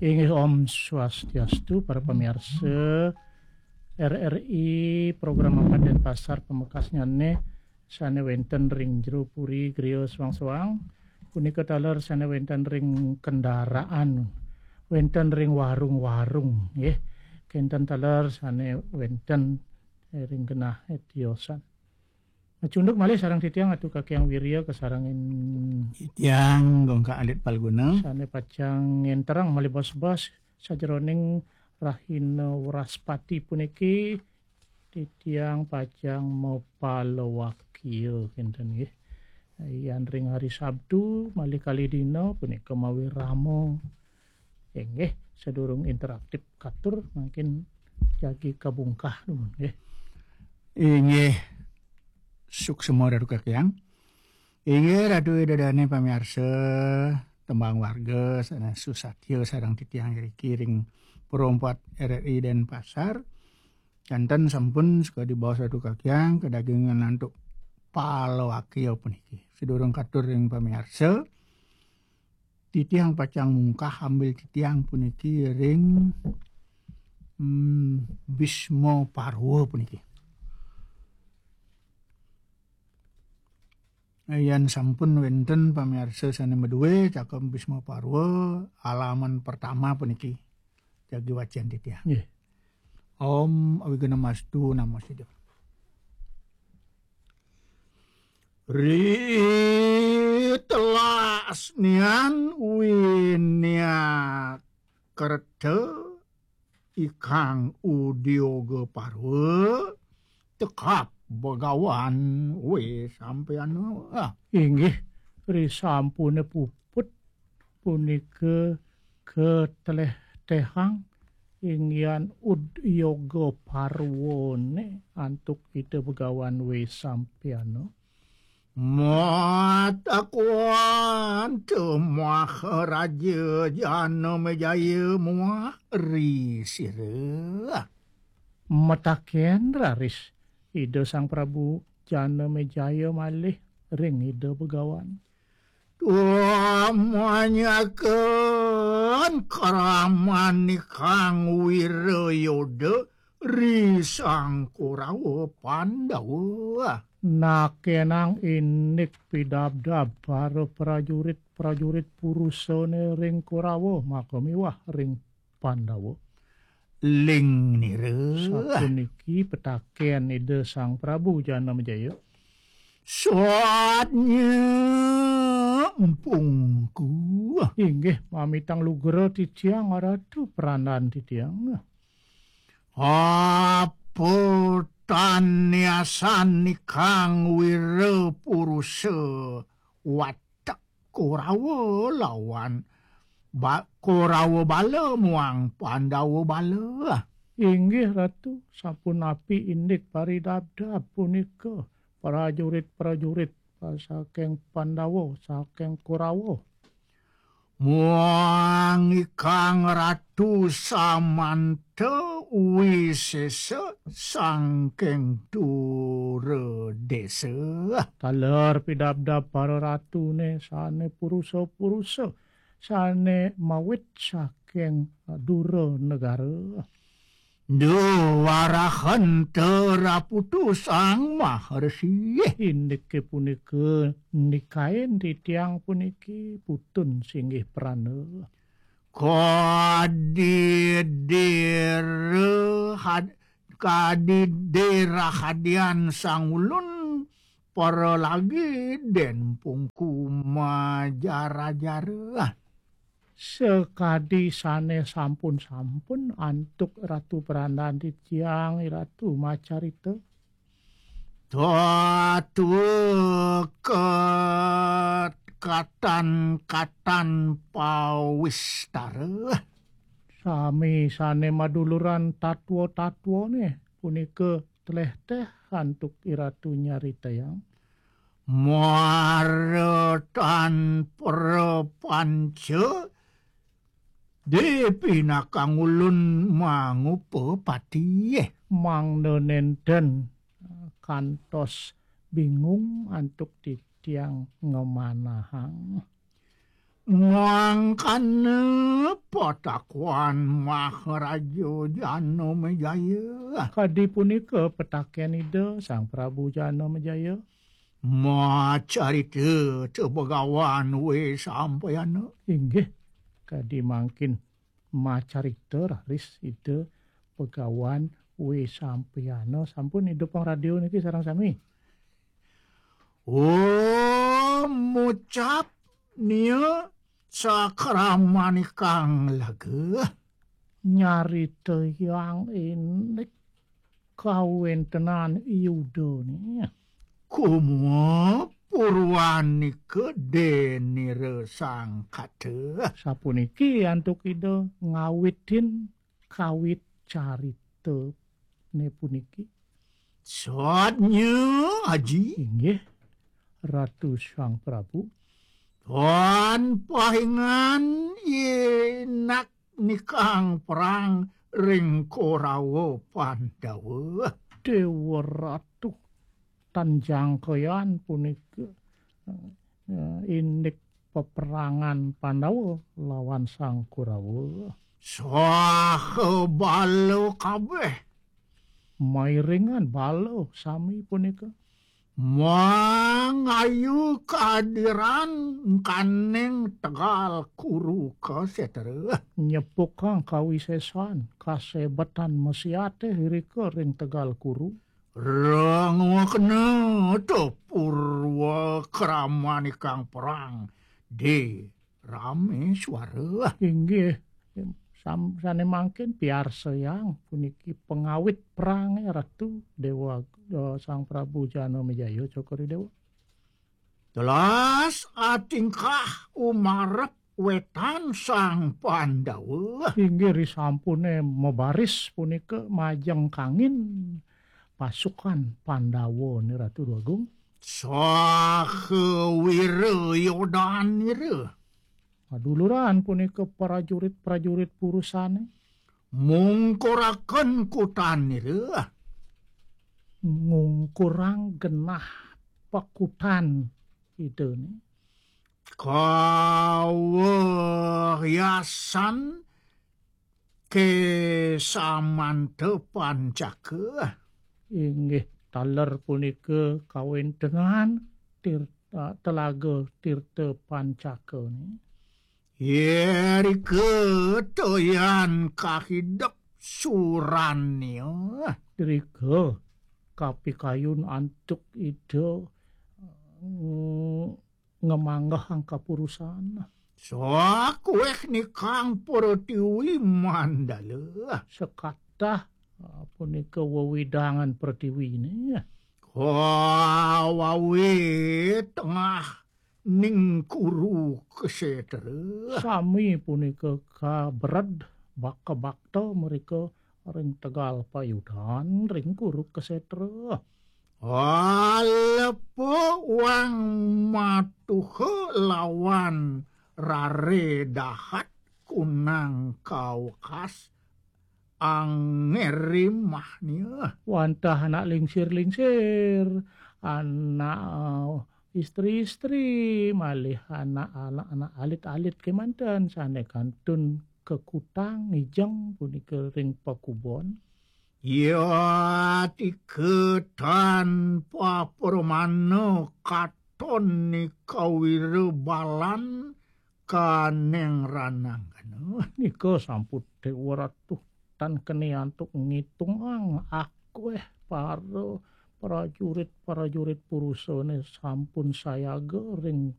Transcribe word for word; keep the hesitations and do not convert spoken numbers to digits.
Inggih, Om Swastiastu, para pamiarsa R R I, program mangkat Denpasar pamekasnyané sané wénten ring jero puri griya soang-soang, punika taler sané wénten ring kendaraan, wénten ring warung-warung, nggih. Kénten taler sané wénten ring genah tiosan. Macunduk malih sareng titiang Atu Kakyang Wirya kasarengin Titiang Gongkak Alit Palguna. Sané pacang ngénterang malih bos-bos sajeroning rahina Wraspati puniki, titiang pacang mapalawakia kénten nggih. Yan ring hari Sabtu malih kalih dina punika mawirama. Inggih, sadurung interaktif katur mangkin jagi kabungkah dumun nggih. Inggih, suksma Ratu Kakyang. Inggih, Ratu Ida Dané pamiarsa, tembang warga sané susatya sareng titiang iriki ring Pro empat R R I Denpasar. Janten sampun sakadi baos Ratu Kakyang, kadagingan antuk palawakia puniki. Sadurung katur ring pamiarsa, titiang pacang mungkah ambil titiang puniki ring, hmm, Bisma Parwa puniki. Yan sampun wénten pamiarsa sané madué Cakep Bisma Parwa, halaman pertama puniki. Jagi wacén titiang. Nggih. Om Awighnamastu Namo Siddham. Ri telasnian winia kerta ikang udioga parwa tekap begawan we sampeana. Ah. Inggih, risampuné puput punika katlehtehang inggian udioga parwane antuk Ida Begawan we sampeana. Matakuan te Maharaja Janamejaya muah ri sira. Mataken raris Ida Sang Prabu Janamejaya malih ring Ida Begawan. Tumanyaken kraman ikang wirayoda ri Sang Kurawa Pandawa. Nakenang indik pidabdab para prajurit-prajurit purusane ring Kurawa maka miwah ring Pandawa. Ling nira. Sapuniki petaken Ida Sang Prabu Janamejaya. Satnya empungku. Inggih, mamitang lugra titiang Ratu, prandan titiang. Apa tan niasan ikang wira purusa watek Korawa lawan ba-, Korawa bala muang Pandawa bala? Inggih, Ratu, sampun api indik paridabdab punika prajurit-prajurit saking Pandawa, saking Korawa. Muang ikang Ratu Samanta Wisesa saking Duradesa. Taler pidabdab para ratune sane purusa-purusa, sane mawit saking Dura Negara. Duh, warahenta raputu Sang Maharsi. Indike punika nikain titiang puniki putun singgih prana. Kadidira had-, kadidira hadian Sang Ulun para lagi den pungku majara-jara. Sakadi sane sampun-sampun antuk Ratu Prandan titiang Ratu macarita. Tatuket katan-katan pawistara. Sami sane maduluran tatwa-tatwane punika tlehteh antuk Iratu nyaritayang. Mara tan prapanca dipinakang ulun mangupapati. Mangda nenten kantos bingung antuk titiang ngamanahang. Mangkana patakuan Maharaja Janamejaya. Kadi punika petaken Ida Sang Prabu Janamejaya. Macarita Begawan Wesampayana. Inggih, kadi mangkin macarita raris Ida Begawan Wesampayana. Sampun Ida pangradio niki sareng sami. Oh, mucap nia sakramanikang laga. Nyaritayang indik kawentenan Yudane. Kumapurwanika denira sangkata. Sapuniki antuk Ida ngawitin kawit caritane puniki. Satnya, Aji. Inggih, Ratu Sang Prabu. Tan pahingan inak nikang perang ring Korawa Pandawa. Dewa Ratu, tan jangkean punika, eh, indik peperangan Pandawa lawan Sang Korawa. Saha bala kabeh. Mairingan bala sami punika. Mangayu kadiran kaning Tegal Kuru Kasetra. Nyepukang kawisesan, kasebetan masiate irika ring Tegal Kuru. Rangwekna to purwa kramanikang perang di Rameswara. Inggih, sam-, sane mangkin piarsayang puniki pengawit perang, eh, Ratu Dewa, eh, Sang Prabu Janamejaya Cokor Dewa. Telas atingkah umarep wetan Sang Pandawa. Inggih, risampune mabaris punika majeng kangin pasukan Pandawa ni Ratu Agung. Saha wira yodanira. Maduluran punika prajurit-prajurit purusane. Mungkuraken kutanira. Ngungkurang genah pakutan Idane. Kawehyasan ke samanta pancaka. Inggih, taler punika kawentenan tir-, ah, telaga Tirta Pancaka ni. Irika toyan kahidep surania. Irika kapikayun antuk Ida, mm, ngamanggehang kapurusan. Sakueh nikang pratiwi mandala. Sekatah, ah, punika wewidangan pratiwine. Kawawi tengah ning Kuru Ksetra. Sami punika kabred baka bakta mereka ring tegal payudan ring Kuru Ksetra. Alepa wang matuha lawan rare dahat kunang kawekas anggerimahnya. Wantah anak lingsir-lingsir, anak, eh, istri-istri, malih anak-anak, anak alit-alit kemanten sane kantun kekutang ngijeng punika ring pakubon. Ya tika tanpa pramana katon nikawira balan kaneng rananggana. Nika sampun Dewa Ratu tan keni antuk ngitungang akweh para prajurit-prajurit purusane sampun sayaga ring